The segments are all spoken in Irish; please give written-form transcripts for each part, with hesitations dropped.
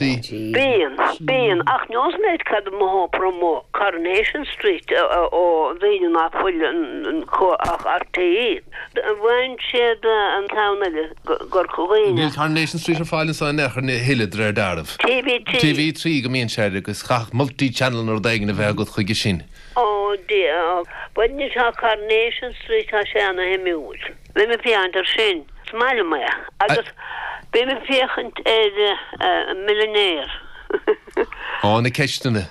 Bíonn, bíonn, ach neosfaidh mé duit cad mo thópar amuigh, Coronation Street ó dhaoine ná fuil ach RTÉ. Bhain siad an ceann eile gCorca Dhuibhne. Níl Coronation Street ar fáil anso in aon chor a thuilleadh de réir dealraimh. TV3. TV3 go mbíonn sé air agus chaithfeadh multi-channel nó rud éigin a bheith agat chuige sin. Ó Dia, bhuel anois tá Coronation Street, tá sé ana-shuimiúil. Bím ag féachaint air sin. Is maith liom é. Agus bím ag féachaint ar Millionaire. Á, na ceisteanna.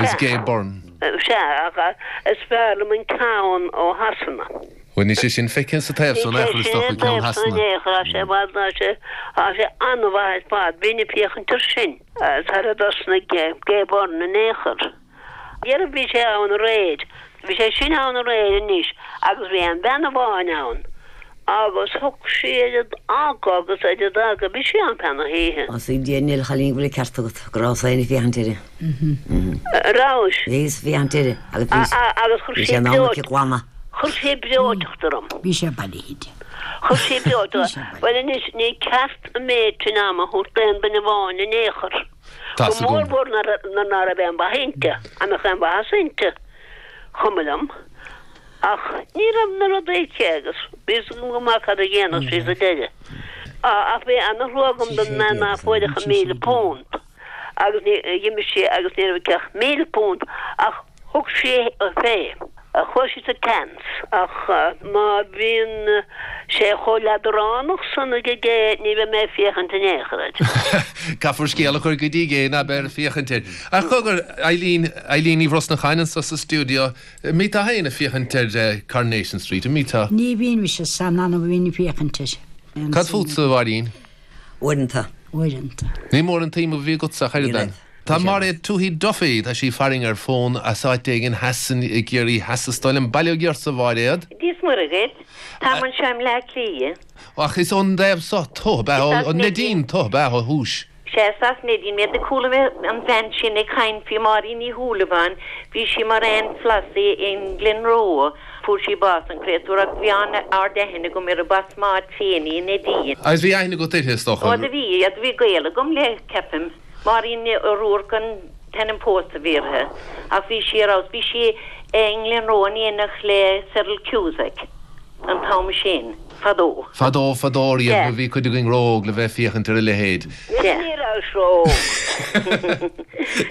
Is Gay Byrne. Sea, ach is fearr liom an ceann ó Shasana. Bhuel, níl sé sin feicthe sa taobh so in aon chor, is dócha, ceann Shasana. Tá sé i bhfad, tá sé, tá sé an-mhaith ar fad. Bím ag féachaint air sin. Sar a dtosnaigh Gay Byrne in aon chor. Dhera bhí sé ann aréir. Bhí sé sin ann aréir anois agus bhí aon bhean amháin ann agus thug sí oiread aga agus oiread aga, bhí sí ann feadh na hoíche. Ó sea, Dia níl a chailín go bhfuil an ceart agat go rabhas féin ag féachaint uirthi. Rabhais? Bhíos ag féachaint uirthi agus bhí Agus chuir bhí sí sé in am breoite, aici glanadh. chuir sí breoiteacht orm. Bhí sé bailithe di. Chuir sí breoiteacht Bhí orm. sé bailithe. Bhuel anois ní ceart an méid sin ama a thabhairt d'aon duine amháin in aon chor. Tá Go 's agam. mór mhór nuair ná raibh aon mhaith inti, dá mbeadh aon mhaitheas inti, chuma liom. Ach ní raibh na rudaí aici agus bhí 'fhios agam go maith cad a dhéanfadh sí sa deireadh. Ach bhí ana-thrua agam don mbean ná fuair ach an £1,000 agus ní, dh'imigh sí agus ní raibh aici ach £1,000 ach Thug sí fé. Chuaigh sí sa tseans. Ach má bhíonn sé chomh leadránach san ag Gay ní bheidh mé ag féachaint in aon chor air. Caithfear scéal a chur go dtí Gay ná beifear ag féachaint air. Ach cogar, Eileen, Eileen Ní Bhrosnacháin anso sa stiúideo, an mbíteá féin ag féachaint ar Coronation Street, an mbíteá? Ní bhíonn mise, is an-annamh a bhíonn ag féachaint air. Cad fútsa, a Mháirín? Uaireanta. Uaireanta. Ní mór an tsuim a bhí agatsa ach oiread ann. Tá Máiréad Tuohy Duffy, tá sí farainn ar fón as áit éigin theas i gCiarraí Theas is dóigh liom. Bail ó Dhia ortsa, a Mháiréad. Dia is Muire dhuit. Táim anseo i mBleá Cliath. Ach is ón dtaobh so tú, ab ea? Is as Ó Neidín. Neidín tú, ab ea, ó thús? Sea, is as Neidín mé. Do chuala mé an bhean sin ag caint faoi Máirín Ní Shúilleabháin. Bhí sí mar Aunt Flossie i nGlenroe. Fuair sí bás, an créatúr, ach bhí an-ard-aithne agam uirthi. B'as m'áit féin í, i Neidín. Agus bhí aithne agat uirthi, is dócha? Ó, do bhí, do bhí gaol agam léi, ceapaim. Máirín Ní Ruairc an t-ainm pósta a bhí uirthi, ach bhí sí ar fheabhas. Bhí sí i nGlenroe in éineacht le Cyril Cusack an t-am sin, fadó. Fadó, fadó riamh Sea. nuair a bhí cuid againn ró-óg le bheith ag féachaint ar a leithéid. Sea. Ní rabhais ró-óg.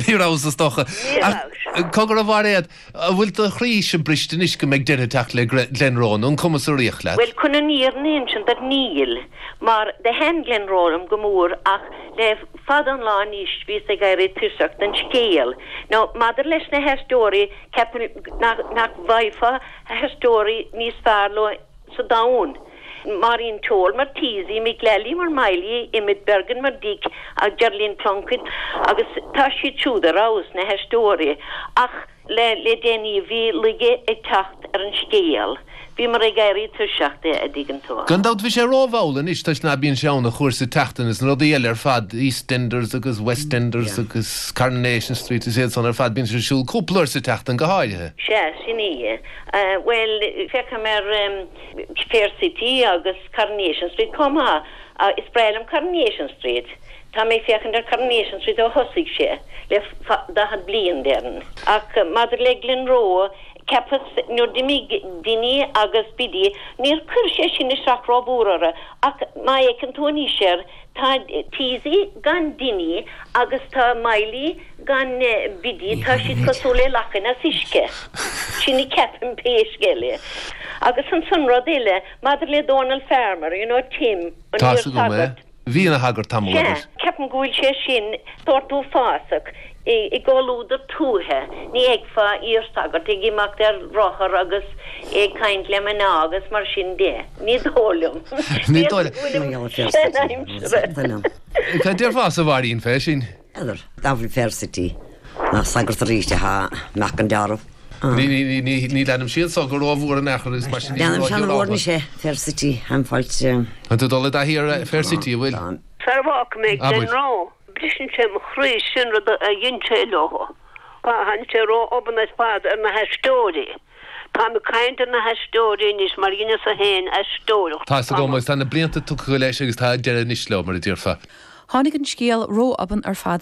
Ní rabhas, is dócha. Ní Ach rabhais. cogar a Mhairéad, An bhfuil do chroíse briste anois go mbeidh deireadh ag teacht le Glenroe nó an cuma sa ríocht leat? Bhuel, chun an fhírinne a insint duit, níl, mar do thaitin Glenroe liom go mór ach le fada an lá anois bhíos ag éirí tuirseach den scéal. Now, maidir leis na haisteoirí, ceapaim nach bhfaighfeá aisteoirí níos fearr leo sa domhan. Máirín Toal mar Teasie, Mick Lally mar Miley, Emmet Bergin mar Dick agus Geraldine Plunkett agus tá siad siúd ar fheabhas, na haisteoirí, ach le le déanaí bhí laige ag teacht ar an scéal. Bhíomar ag éirí tuirseach de, a dtuigeann tú. Gan dabht bhí sé rómhall anois toisc ná bíonn sé ann ach uair sa tseachtain is na rudaí eile ar fad, EastEnders agus WestEnders agus Coronation Street is iad san ar fad bíonn sé ar siúl cúpla uair sa tseachtain go háirithe. Sea, sin í. Bhuel, feicim ar Fair City agus Coronation Street chomh maith. Is breá liom Coronation Street. Tá mé ag féachaint ar Coronation Street ó thosaigh sé, le 40 bliain, déarfainn. Ach maidir le Glenroe, cheapas nuair d'imigh Dinny agus Biddy, níor chuir sé sin isteach rómhór orthu, ach má fhéachann tú anois air, Tá Teasie gan Dinny agus tá Miley gan Biddy, tá siad cosúil le lachain as uisce. Sin a ceapaim pé scéal é. Agus ansan rud eile, maidir le Dónal Farmer, you know Tim, an Tá 's agam é. iar-shagart. Bhí ina shagart tamall, Sea, abair. ceapaim go bhfuil sé sin sórt uafásach. I gcomhluadar tuaithe, ní fheicfeá iar-shagart ag imeacht ar rothar agus é ag caint le mná agus mar sin de. Ní dóigh liom. Ní dóigh B'fhéidir go bhfuilim sean-aimseartha. Cad déarfása, a Mháirín, fé sin? N'fheadar. Dá bhfuil Fair City nach sagart arís atá amach an deáramh. Ní leanaim siad so go rómhór in aon chor agus mar sin ní Leanaim sé an-mhór ró-ghiorrálta. anois é, Fair City, I'm fáilte. Tá tú ag dul i dtaithí ar Fair City, an bhfuil? Sara bhfágfaidh mé Abair. Glenroe. Briseann sé mo chroí sin rud a dhein sé leo. Tháinig sé ró-obann ar fad ar na haisteoirí. Táim ag caint ar na haisteoirí anois mar dheineas-sa féin aisteoireacht Tá's agam tamall. agus tá na blianta tugtha leis agus tá deireadh anois leo, mar a déarfá. Tháinig an scéal ró-obann ar fad.